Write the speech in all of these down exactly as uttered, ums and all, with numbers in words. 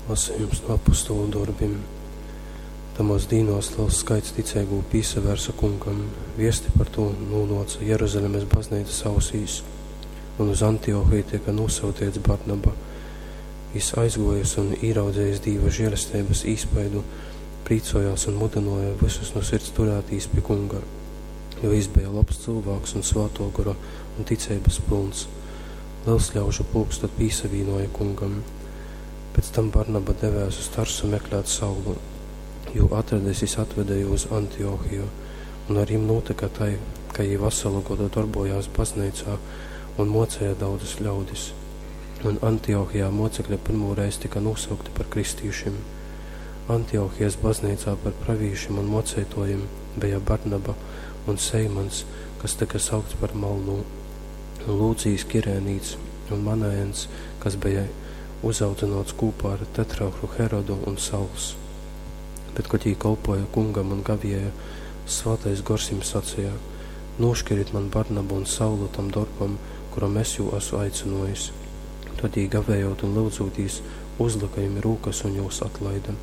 Lasejums nu apostolu dorbim. Tamōs dīnōs lels skaits ticeigū pīsavērse Kungam. Viesti par tū nūnōce Jeruzalemes bazneicas ausīs, un uz Antiochiju tyka nūsyuteits Barnaba. Jys aizgōjis un īraudzejis Dīva žēlesteibas īspaidu, prīcōjōs un mudynōja vysus nu sirds turētīs pi Kunga, jo jys beja lobs cylvāks un Svātō Gora un ticeibas pylns. Lels ļaužu pulks tod pīsavīnōja Kungam. Pēc tam Barnaba devēs uz Tarsu meklēt Saulu. Jū atradis, jys atvede jū uz Antiochiju, un ar jim nūtyka tai, ka jī vasalu godu dorbōjās bazneicā un mōceja daudzus ļaudis. Un Antiochijā mōcekļi pyrmūreiz tyka nūsaukti par kristīšim. Antiochijas bazneicā par pravīšim un mōceitōjim beja Barnaba un Seimaņs, kas tyka saukts par Malnū, un Lūcijs Kirēnīts, un Manaens, kas beja uzaudzynōts kūpā ar tetrarhu Herodu, un Sauls. Bet, kod jī kolpōja Kungam un gavēja, Svātais Gors jim saceja: Nūškirit man Barnabu un Saulu tam dorbam, kuram es jū asu aicynōjis. Tod jī, gavējot un lyudzūtīs, uzlyka jim rūkas un jūs atlaide.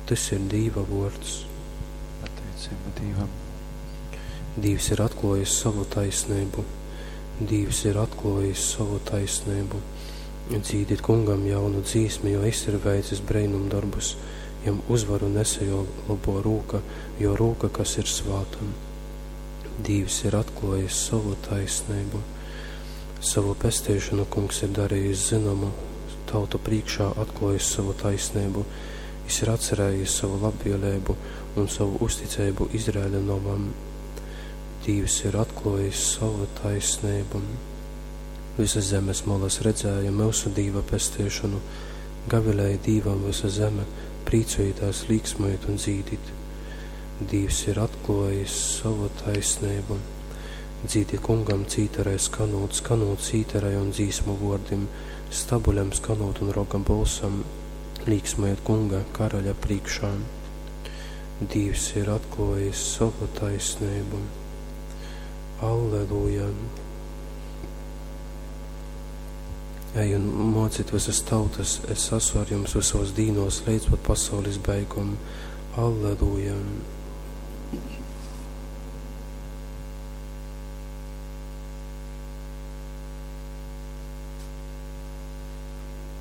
Tys ir Dīva vōrds. Pateiceiba Dīvam. Dīvs ir atklōjis sovu taisneibu. Dīvs ir atklōjis sovu taisneibu. Dzīdit Kungam jaunu dzīsmi, jo jys ir veicis breinumdorbus, jam uzvaru nese jō lobō rūka, jō rūka, kas ir svāta. Dīvs ir atklōjis sovu taisneibu. Savu pesteišonu Kungs ir darījis zynomu, tautu prīškā atklōjis sovu taisneibu. Jys ir atcerējis sovu labvēleibu un sovu uzticeibu Izraeļa nomam. Dīvs ir atklōjis sovu taisneibu. Visas zemes molas redzēja myusu Dīva pesteišonu. Gavilēja Dīvam vysa zeme, prīcojitās, līksmojit un dzīdit. Dīvs ir atklōjis sovu taisneibu. Dzīdit Kungam cītarai skanūt, skanūt cītarai un dzīsmu vōrdim, stabuļam skanūt un roga bolsam, līksmojit Kunga karaļa prīškā. Dīvs ir atklōjis sovu taisneibu. Alleluja! Ej un mocit visas tautas, es esmu ar jums visos dīnos līdz pat pasaules beigom. Alleluja!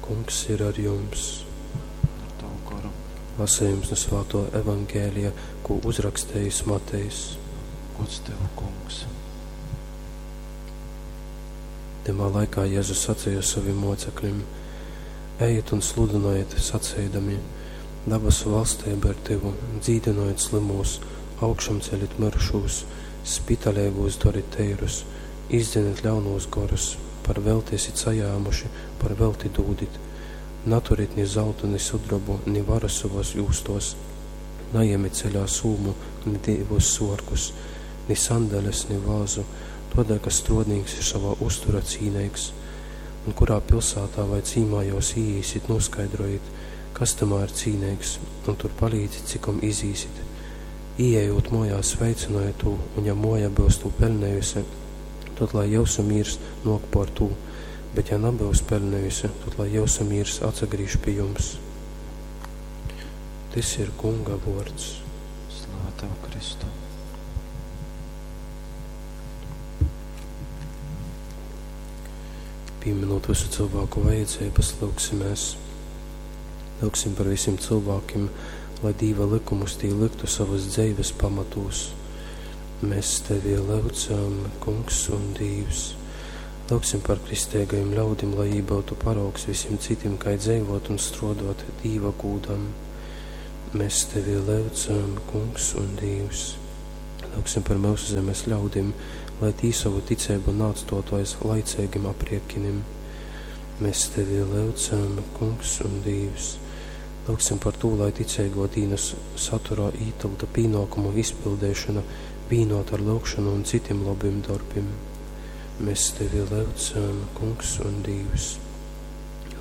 Kungs ir ar jums. Ar tavu goru. Lasījums no Svāto Evangēlija, ko uzrakstījis Matejs. Gods tev, Kungs. Tymā laikā Jēzus sacīja saviem mocekļiem: Ejiet un sludinojiet, sacīdami: Dabasu valstība ir tuvu, dzīdinojiet slimos, augšamceļit mirušos, spitaļīgos dorit teirus, izdzeniet ļaunos gorus, par velti esit sajāmuši, par velti dūdit. Naturit ni zeltu, ni sudrabu, ni varu savos jūstos, najemit ceļā sūmu, ni divus sorkus, ni sandeles, ni vāzu, todēļ, ka strodnīks ir savā uztura cīneigs. Un kurā pilsētā vai cīmā jūs īīsit, noskaidrojit, kas tamā ir cīneigs, un tur palīdzit, cikom izīsit. Ieejot mojā, sveicinojiet tū, un ja moja būs tū pelnējusi, tad lai jūsu mīrs nok pār tū, bet ja nebūs pelnējusi, tad lai jūsu mīrs atsagrīž pie jums. Tys ir Kunga vārds. Slava tev, Kristu! Pieminot visu cilvēku vajadzības, lūgsimies. Lūgsim par visiem cilvēkiem, lai Dīva likumus tī liktu savas dzeives pamatūs. Mēs tevi lūdzam, Kungs un Dīvs. Lūgsim par kristīgajiem ļaudim, lai jī būtu paraugs visiem citiem, kā dzīvot un strodot Dīva gūdam. Mēs tevi lūdzam, Kungs un Dīvs. Lūgsim par mūsu zemes ļaudim, lai tī savu ticību neatstotu aiz laicīgiem aprēķiniem. Mēs tevi lūdzam, Kungs un Dīvs. Lūgsim par to, lai ticīgo dīnas saturā ītilta pienākumu izpildīšana vīnot ar lūgšanu un citiem labiem darbiem. Mēs tevi lūdzam, Kungs un Dīvs.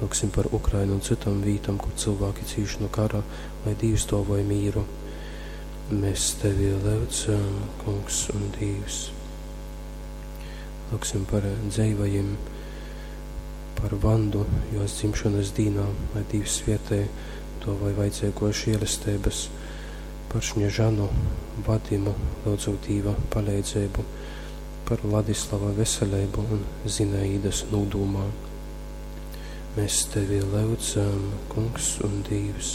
Lūgsim par Ukrainu un citām vītām, kur cilvēki cīš no kara, lai Dīvs dāvoja mīru. Mēs tevi lūdzam, Kungs un Dīvs. Lūgsim par dzeivajiem, Par Vandu juos dzimšonys dīnā, lai Dīvs svietej, duovoj vajadzeiguos žielesteibys. Par Šņežanu, Vadimu lyudzūt Dīva paleidzeibu. Par Ladislava veseleibu un Zinaīdys nūdūmā. Mēs tevi lyudzam, Kungs un Dīvs.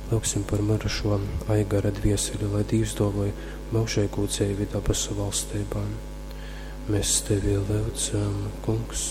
Lyugsim par myrušo Aigara dvieseli, lai Dīvs duovoj myužeigū dzeivi dabasu valsteibā. Mēs tevi lyudzam, Kungs